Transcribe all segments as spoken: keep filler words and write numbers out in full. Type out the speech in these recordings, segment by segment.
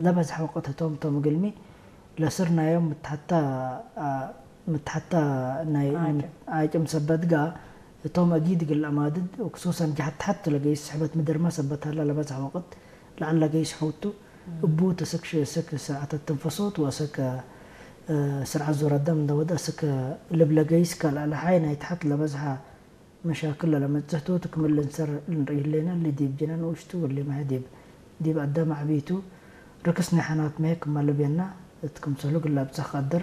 ለበዝሐ ወቅት ህቶም ቶም እግልሚ ለስር ናዮም ምትሐታ፣ አ፣ ምትሐታ ናይ ዓጭም። ዓጭም ሰበት ገአ ህቶም አጊድ እግል አማድድ ወክሱሰን ጀሀት ተሐት ለገይስ ስሕበት ምድርመ ሰበት ሀላ ለበዝሐ ወቅት ለዐለ ገይስ ሑቱ እቡ ተስክ ሽ-፣ ስክ ስርዓተ ትንፈሶት ወስክ፣ እ፣ ስርዓት ዙረት ደም እንደ ወደ ስክ ልብለ ገይስ ከልአለ ሐይ ናይ ተሐት ለበዝሐ መሻክል ለለመጽህቱ ትክምል ልንሰር ልንርኢህሌነ እሊ ዲብ ጅነን ውሽቱ ወሊመ ዲብ፣ ዲብ አዳም ዐቢቱ ርክስ ናይ ሐናት መ ክመ ልቤና እት ክምሰሉ እግል ለአብጽሕ ቀድር።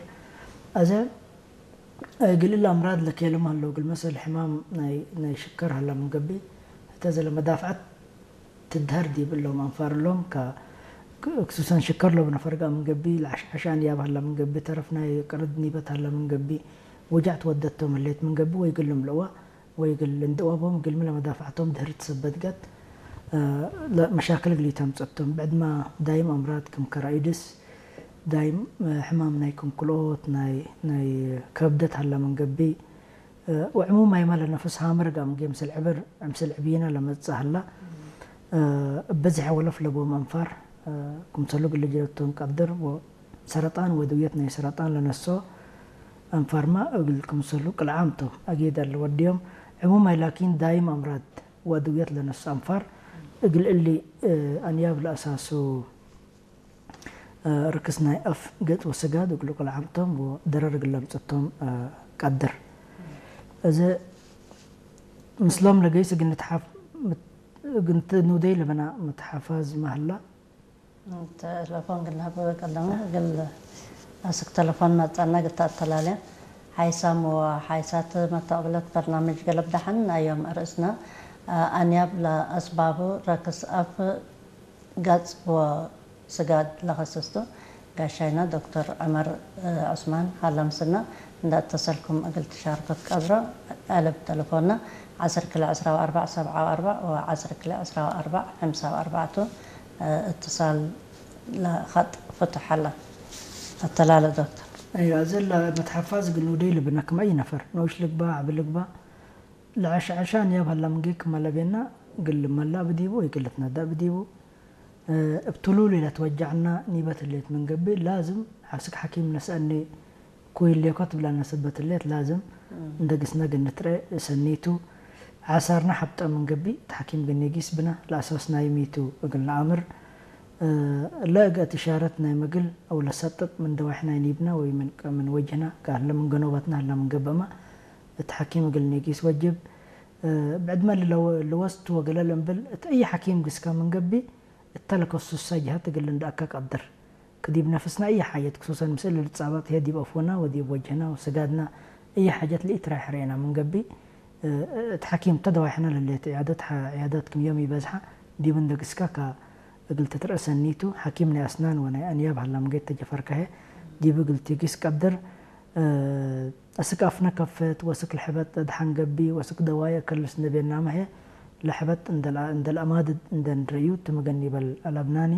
አዜ እግል እለ አምራድ ለኬልም ሀለው እግል መሰል ሕማም ናይ፣ ናይ ሽከር ሀላ ምን ገብእ፣ እተ ዘለ መዳፍዐት ትድሀር ዲብ እሎም አንፋር እሎም ከ-፣ ክሱሰን ሽከር ሎም ነፈር ገአ ምን ገብእ፣ ለዐሽዐሽ አንያብ ሀላ ምን ገብእ፣ ተረፍ ናይ ቅርድ ኒበት ሀላ ምን ገብእ፣ ውጃዕ ትወደቶም ህሌት ምን ገብእ ወይ እግል ልምልእዋ ወይ እግል ልንድእዋ ቦም እግልሚ ለመዳፍዐቶም ድህርት ሰበት ገት፣ እ፣ ለመሻክል እግል ኢተምጸቶም። ብዕድመ ዳይም አምራድ ክም ከራይድስ፣ ዳይም፣ እ፣ ሕማም ናይ ክንክልኦት፣ ናይ፣ ናይ ከብደት ሀላ ምን ገብእ፣ እ፣ ወዕሙማይመ ለነፍስ ሃምር ገአምጌ ምስል ዕብር፣ ምስል ዕቢነ ለመጽእ ሀላ፣ እ፣ እብ ብዝሐ ወለፍ ለቦም አንፋር፣ እ፣ ክምሰሉ እግል ልጅረቶም ቀድር ወሰረጣን ወድውየት ናይ ሰረጣን ለነስኦ አንፋርመ እግል ክምሰሉ ቅልዓም ቶም። አጊድ አለ ወድዮም ዕሙማይ ላኪን ዳይም አምራድ ወአድውየት ለነስኦ አንፋር እግል እሊ፣ እ፣ አንያብ ለአሳሱ ርክስ ናይ አፍ፣ ገጽ ወስጋድ እግሉ ቅልዓም ቶም ወደረር እግል ለምጽእ ቶም ቀድር። እዘ ምስሎም ለገይስ እግል ንትሓፍ-፣ እግል ንውደይ ለበና መትሓፋዝ መ ሀላ። ተለፎን እግል ነሀብ ቀደሙ እግል አስክ ተለፎን መጸአነ እግል ተአተላሌ። ሓይሳም ወሓይሳት መተቅብለት በርናምጅ ገለብ ደሐን ናይ ዮም አርእስነ። አንያብ ለአስባቡ ረክስ አፍ ገጽ ወስጋድ ለኸስስቱ ጋሻይና ዶክተር ዑመር ዑስማን ሀለ ምስልነ። እንደ እተሰልኩም እግል ትሻርኩ ትቀድሮ። አለብ ተለፎንነ ዐስር ክልኤ ዕስራ ወአርበዕ ሰብዓ ወአርበዕ ወዐስር ክልኤ ዕስራ ወአርበዕ ሐምሳ ወአርበዕ ቱ። እትሳል ለኸጥ ፍቱሕ ሀለ። አተላለ ዶክተር። አይወ፣ እዘ ለመትሐፋዝ እግል ንውደይ ልብነ ክም አይ ነፈር፣ ኖሽ ልግባእ፣ ዐቢ ልግባእ፣ ለዐሸዐሸ አንያብ ሀላ ምን ጌክ ክመ ለቤና፣ እግል ልመላእ ብዲቡ ወእግል ልትነደእ ብዲቡ፣ እብ ትሉል ኢለትወጀዐና ኒበት ህሌት ምን ገብእ፣ ላዝም ሐስክ ሐኪም ነስአኒ ኩይ ህሌኮ ትብለነ ሰበት ህሌት፣ ላዝም እንደ ግስነ እግል ንትርኤ ሰኒ ቱ። ዐሳርነ ሐብጠ ምን ገብእ፣ እት ሐኪም እግል ኔጊስ ብነ፣ ለአሳስ ናይ ሚ ቱ እግል ነአምር፣ ለእግል እት እሻረት ናይ ምግል አው ለሰጥጥ ምን ደዋሒ ናይ ኒብነ ወይ ምን፣ ምን ወጅህነ፣ ጋር ለምን ገኖበትነ ሀላ ምን ገብእመ፣ እት ሐኪም እግል ኔጊስ ወጅብ። እ፣ ብዕድመ ልለው-፣ ልወስት ወገለ ልንብል እት አይ ሐኪም ግስከ ምን ገብእ፣ እተ ለከሱሰ ጀሀት እግል ልንድአከ ቀድር። ከዲብ ነፍስነ አይ ሓጀት፣ ክሱሰን ምስል ልጻበጥ ህዬ ዲብ አፉነ ወዲብ ወጅህነ ወስጋድነ አይ ሓጀት ለኢትራይ ሕሬነ ምን ገብእ፣ እ፣ እት ሐኪም እተ ደዋይሕነ ለህሌት ዕያደት፣ ሐ-፣ ዕያዳት ክም ዮም ኢበዝሐ፣ ዲብ እንደ ግስከ ከእግል ትትርአ ሰኒ ቱ። ሐኪም ናይ አስናን ወናይ አንያብ ሀላ ምን ገብእ ተጀፈርከ ህዬ፣ ዲብ እግል ቲጊስ ቀድር። እ፣ አስክ አፍነ ከፈት ወአስክ ለሕበጥ አድሐን ገብእ ወአስክ ደዋይ አከልስ እንዴ ቤናመ ህዬ፣ ለሕበጥ እንደ ለአ-፣ እንደ ለአማድድ እንዴ ንረዩ ትምገን ይበል አለብናኒ።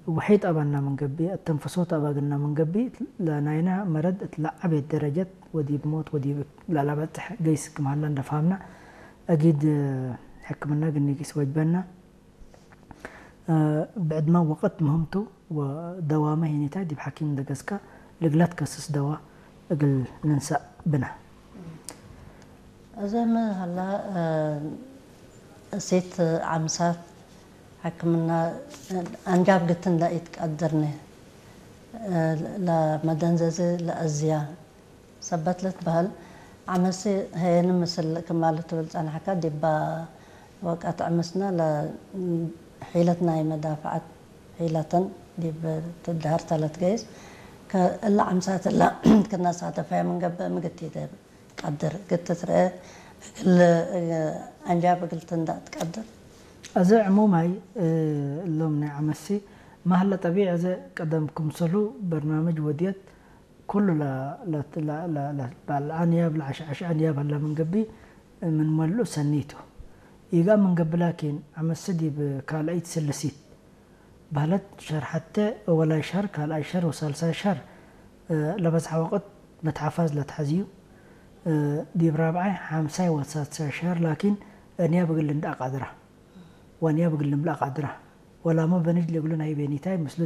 ወሒጥ አባና ምን ገብእ፣ አተንፈሶት አባግና ምን ገብእ፣ ለናይና መረድ እት ለዐቤት ደረጀት ወዲብ ሞት ወዲብ ለለበጽሕ ገይስ ክም ሀለ እንደ ፋምና፣ አጊድ ሕክምና እግል ኒጊስ ወጅበና። እ፣ ብዕድመ ወቅት ምህም ቱ ወደዋመ ሂኒታይ ዲብ ሐኪም እንደ ገዝከ፣ ልግለት ከስስ ደዋ እግል ንንሰእ ብነ። እዘ ሚ ሀላ፣ እ፣ እሲት ዐምሳት ሕክምና አንጃብ ግትን ለኢትቀድርኒ፣ እ፣ ለመደንዘዚ ለአዝያ ሰበት ልትበህል ዐመሲ ህዬኒ ምስል ክማል ትብል ጸንሐከ፣ ዲበ ወቀት ዐመስነ ለሒለት ናይ መዳፍዐት ሒለተን ዲብ ትድሀር ተ ለትገይስ፣ ከእለ ዐምሳት እለ ክነሳተፈየ ምን ገብእ ምግቲተ ቀድር፣ ግትትርኤ እግል አንጃብ እግል ትንዳእ ትቀድር። አዜ ዕሙማይ፣ እ፣ እሎም ናይ ዐመሲ መሀለ ጠቢዕ፣ አዜ ቀደም ክምሰሉ በርናምጅ ወድየት፣ ኩሉ ለ-፣ ለ-፣ ለ-፣ ለ-፣ ለ-፣ ለአንያብ ለዐሽዐሽ አንያብ ሀለ ምን ገብእ ምን መልኡ ሰኒ ቱ። ኢጋ ምን ገብእ ላኪን፣ ዐመሲ ዲብ ካልአይት ስልሲት በህለት ሸር ሐቴ፣ እወላይ ሸር፣ ካልአይ ሸር ወሳልሳይ ሸር፣ እ፣ ለበዝሐ ወቅት መትሐፋዝ ለትሐዝዩ፣ እ፣ ዲብ ራብዓይ፣ ሐምሳይ ወሳድሳይ ሸር ላኪን፣ አንያብ እግል ልንድአ ቃድራ፣ ወአንያብ እግል ልምለአ ቃድራ፣ ወላመ በንጅ ለእግሉ ናይ ቤኒታይ ምስሉ